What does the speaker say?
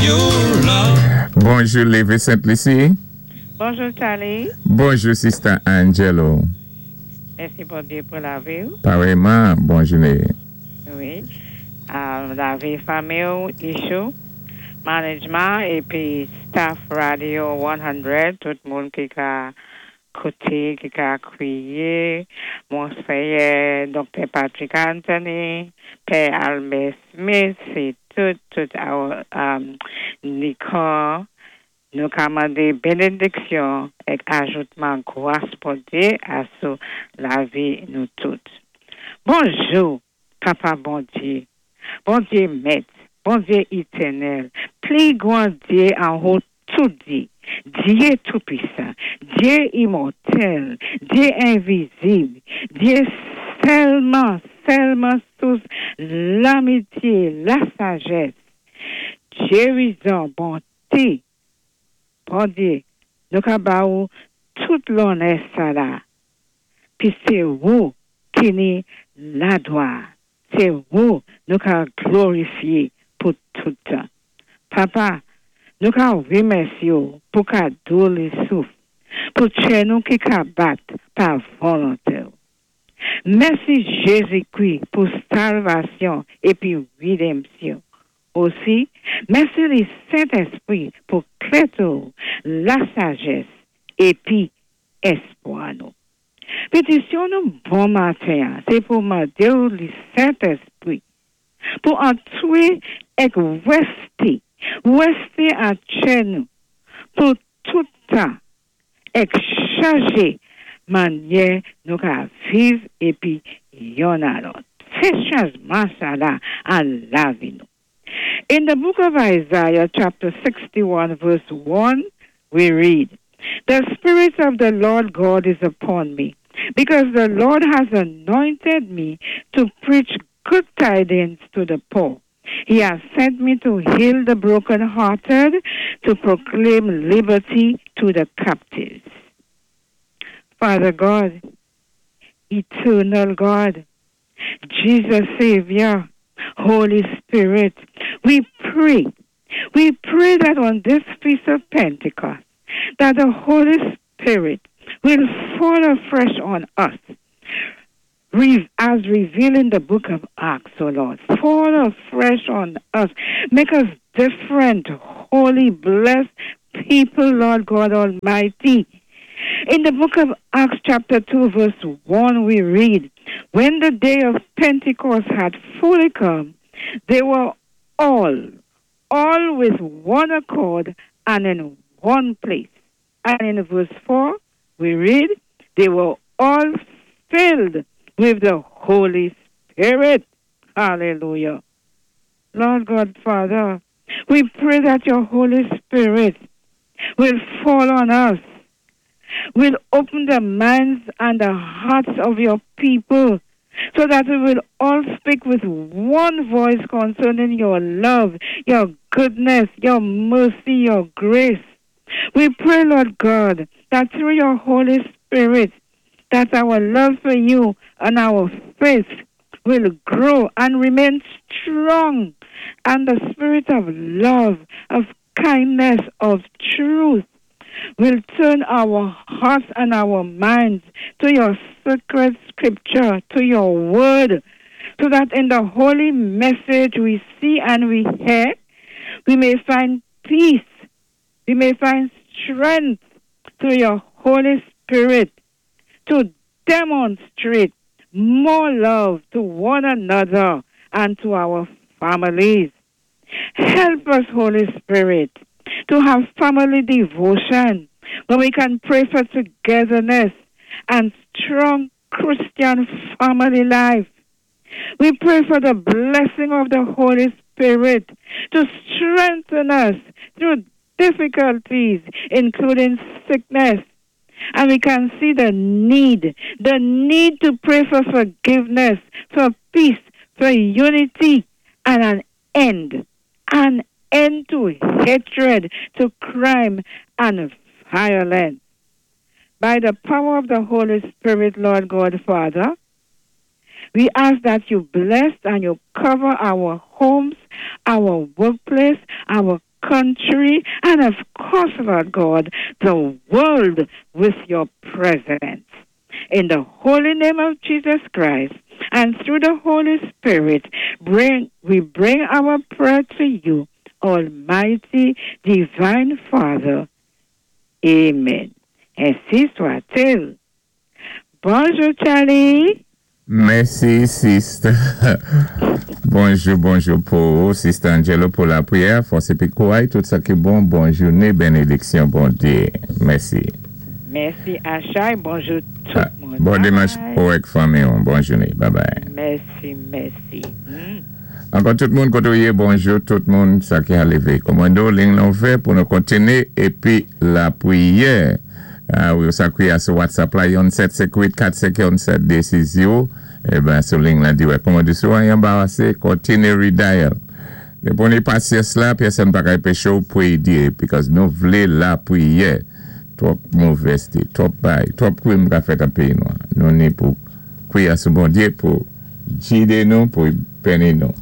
Your love. Bonjou, Lévé Sainte-Lucie. Bonjou, Charlie. Bonjou, Sister Angelo. Mèsi Bondyé pou lavi. Parèyman, bon jouné. Wi. Lavi fanmi, Issue, management épi staff Radio 100, tout moun ki ka kouté, ki ka kwiyé, Monseyè Dr. Patrick Anthony, Pè Albert Smith, sé tout Nicole, nou ka mandé bénédiksyon èk ajoutman gwas Bondyé asou lavi nou tout. Bonjou, Papa Bondyé, Bondyé Mèt, Bondyé étènèl, pli gwan Dyé anwo tout dyé, Dyé Toupisan, Dyé imòtèl, Dyé envizib, Dyé sèlman, sèlman sous lamityé, lasajès, Dyé bonté, Bondyé, nou ka ba ou tout lonnè sa la. Pi sé ou ki ni laglwa. Sé ou nou ka glorifyé pou tout tan. Papa, nou ka wimèsyé ou pou kado lé souf, pou tchè nou ki ka bat pa volonté ou. Mèsi Jézi-Kwi pou salvasyon épi wédanmsyon. Osi, mèsi lé Sentèspwi pou klèté ou, lasajès épi èspwa nou. Pétisyon nou bon maten, sé pou mandé ou lé Sentèspwi pou antwé èk wèsté, wèsté an tchè nou pou tout tan èk chanjé mannyè nou ka viv épi youn a lòt. Fè chanjman sa la an lavi nou. In the book of Isaiah, chapter 61, verse 1, we read, "The Spirit of the Lord God is upon me, because the Lord has anointed me to preach good tidings to the poor. He has sent me to heal the brokenhearted, to proclaim liberty to the captives." Father God, eternal God, Jesus Savior, Holy Spirit, we pray. We pray that on this feast of Pentecost, that the Holy Spirit will fall afresh on us, as revealed in the book of Acts, O Lord. Fall afresh on us. Make us different, holy, blessed people, Lord God Almighty. In the book of Acts, chapter 2, verse 1, we read, "When the day of Pentecost had fully come, they were all with one accord and in one place." And in verse 4, we read, "They were all filled with the Holy Spirit." Hallelujah. Lord God, Father, we pray that your Holy Spirit will fall on us, will open the minds and the hearts of your people, so that we will all speak with one voice concerning your love, your goodness, your mercy, your grace. We pray, Lord God, that through your Holy Spirit, that our love for you and our faith will grow and remain strong, and the spirit of love, of kindness, of truth will turn our hearts and our minds to your sacred scripture, to your word, so that in the holy message we see and we hear, we may find peace, we may find strength through your Holy Spirit to demonstrate more love to one another and to our families. Help us, Holy Spirit, to have family devotion where we can pray for togetherness and strong Christian family life. We pray for the blessing of the Holy Spirit to strengthen us through difficulties, including sickness. And we can see the need to pray for forgiveness, for peace, for unity, and an end to hatred, to crime, and violence. By the power of the Holy Spirit, Lord God, Father, we ask that you bless and you cover our homes, our workplace, our country, and of course, Lord God, the world with your presence. In the holy name of Jesus Christ and through the Holy Spirit, we bring our prayer to you, Almighty Divine Father. Amen. Ainsi soit-il. Bonjou, Charlie. Mèsi, sister. Bonjou, bonjou pou Sister Angelo pou lapriyè. Fòs épi kouray, tout sa ki bon. Bon jouné, bénédiksyon, Bondyé. Mèsi. Mèsi, Achay. Bonjou tout moun. Bon dimanch pou ak fanmi. Bon jouné. Bye bye. Mèsi, mèsi. Ankò tout moun koté ou yé, bonjou tout moun sa ki a lévé. Kòmando, liy lan ouvè pou nou kontiné épi lapriyè. Ah wi, sa ki sou WhatsApp la, 1 7 5 8 4 5 1 7 2 6 0. Eh ben, sou liy la, di wè, kòman di sou anbasé, kontiné redial. Dépi ou ni pasyans la, pèsonn pa ka anpéché ou pwiyé, because nou vlé lapriyè. Twòp movèzté, twòp bay, twòp krim ka fèt an péyi nou. Nou ni pou kwiyé sou Bondyé pou gidé nou, pou béni nou.